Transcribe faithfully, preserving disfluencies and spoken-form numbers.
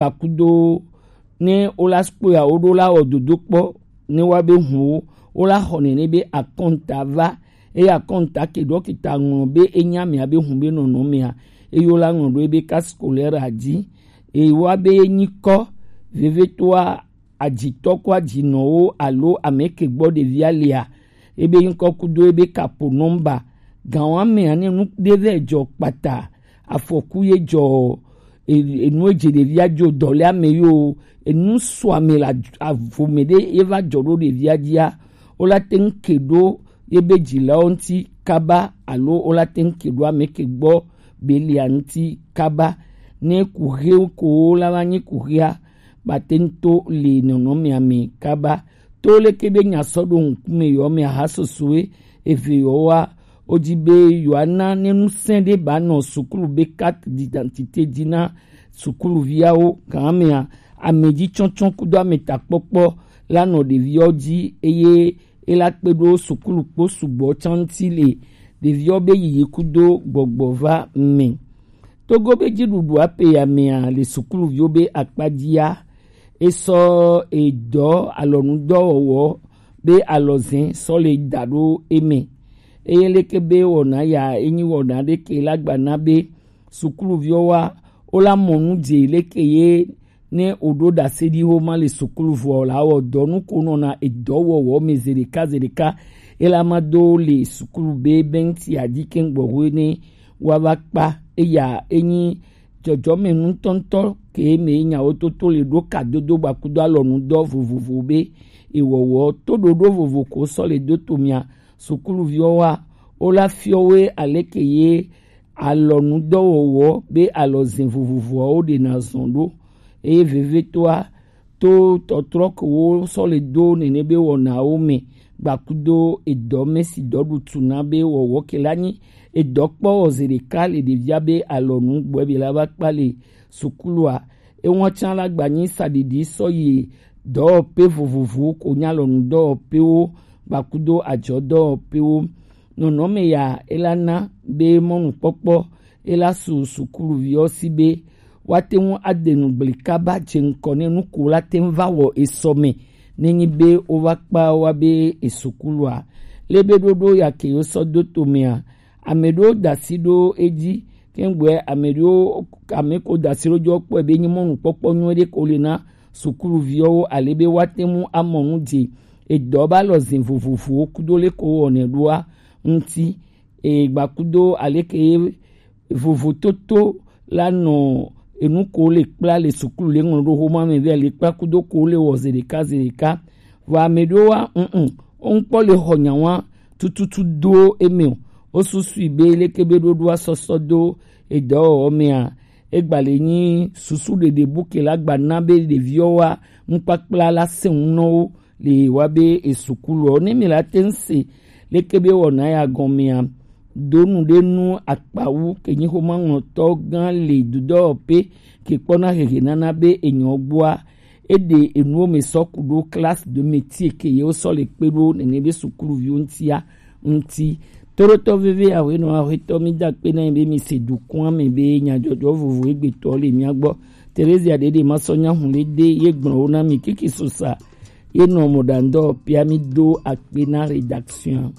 Kpakudo ne wola kpɔe a woɖo la wɔ dodo kpɔ ne wa be hun wo wola xɔ nene be akɔnta va eye akɔnta ke ɖɔ kita ŋlɔ be enya mea be hun be nɔnɔ mea eye wola ŋlɔ ɖo ebe cas scolaire a dzi eye wa be nyikɔ vevetoa adzitɔ ko adzinɔwo alo ame ke gbɔ ɖevia lia ebe ŋkɔ kudo ebe kapo nɔmba gan wa mea ne nu ɖe vɛ dzɔ kpata afɔku ye dzɔ enu edze ɖevia dzo dɔ le ame yo enu sɔ ame le avome ɖe ye va dzɔ ɖo ɖevia dzia wola te ŋu ke ɖo ye be dzilawo ŋuti kaba alo wola te ŋu ke ɖo ame ke gbɔ belia ŋuti kaba ne kuxe ko la va nyi kuxea bate ŋu to le nɔnɔmea me kaba to leke be nya sɔ ɖo ŋkume yɔ me aha sosoe eve yɔ wa wodi be yewoana ne ŋusẽ ɖe ba nɔ sukulu be carte d'identité dzi na sukuluviawo gan mea ame dzi tsɔtsɔ kudo ame takpɔkpɔ la nɔ ɖeviawo dzi eye ela kpe ɖo sukulu kpo sugbɔ tsanti le ɖeviawo be yiyi kudo gbɔgbɔ va me. Togo be dziɖuɖu ape ya mea le sukuluviwo be akpa dzia esɔ edɔ alɔnudɔwɔwɔ be alɔzɛ sɔ le da ɖo eme eye leke be wɔna ya enyi wɔna ɖeke la gbana be sukuluviwo wa wola mɔ nu dze leke ye ne woɖo ɖase ɖi wo ma le sukulu vɔ la wɔ dɔ nu ko nɔna edɔ wɔwɔ me zeɖeka zeɖeka ela ma do le sukulu be bɛnti adi ke gbɔxwe ne wa va kpa eya enyi dzɔdzɔme nutɔntɔ ke me nyawo toto le ɖo kadodo gbakudo alɔnu dɔ vovovo be ewɔwɔ to ɖoɖo vovo ko sɔ le do to mia sukuluviwo wa wola fiɔwoe aleke ye alɔnudɔwɔwɔ be alɔzin vovovoawo ɖena zɔn ɖo eye vevetoa to tɔtrɔ ke wo sɔ le do nene be wɔnawo me gbakudo edɔ mesi dɔ ɖutu na be wɔwɔ ke la nyi edɔ kpɔ wɔ zi ɖeka le ɖevia be alɔnu gbɔ be la va kpa le sukulua ewa tsa la gba nyi saɖiɖi sɔ yi dɔwɔpe vovovowo ko nya alɔnudɔwɔpewo gbakudo adzɔdɔwɔpewo nɔnɔme ya ela na be mɔnukpɔkpɔ ela su sukuluviwo si be woate ŋu ade nu gblẽ kaba dze ŋkɔ ne nu ko la te ŋu va wɔ esɔ me ne nyi be wova kpa wa be esukulua. Le be ɖoɖo ya ke wosɔ do to mea, ame ɖewo da asi ɖo edzi, ke ŋgbɔe ame ɖewo ame ko da asi ɖo dzo kpɔe be nyi mɔnukpɔkpɔ nyui ɖe ko le na sukuluviwo ale be woate ŋu amɔ nu dze edɔ ba lɔ zin vovovowo kudo le ko wɔnɛ ɖoa ŋuti. Egbakudo aleke ye vovototo la nɔ enu ko le kpla le sukulu le ŋlɔ ɖo xoma me vɛ le kpla kudo ko le wɔ zeɖeka zeɖeka. Vɔ ame ɖewo wa ŋŋ woŋkpɔ le xɔ nya wa tututu do eme o. Wosusui be leke be ɖoɖoa sɔsɔ do edɔwɔwɔ mea, egba le nyi susu ɖeɖe bu ke la gba na be ɖeviwo wa ŋkpakpla la se ŋu nɔ wo le wa be esukuluɔ ne mi la te ŋu se leke be wɔna ya gɔmea donu ɖe nu akpawu ke nyi xoma ŋlɔtɔ gã le dudɔwɔƒe ke kpɔna hehe nana be enyɔ gbɔa eɖe enuwo me sɔ ku ɖo classe de métier ke yewo sɔ le kpe ɖo nene be sukuluviwo ŋutia ŋuti. Toɖotɔ veve awenɔ aƒetɔ mi da kpe na mi be mi se dukɔa me be nyadzɔdzɔ vovo egbetɔ le mia gbɔ. Teresia ɖeɖe ma sɔ nya hu le de ye gblɔ wo na mi kiki sosa ye nɔ mɔɖaŋdɔ pia mi do akpe na rédaction.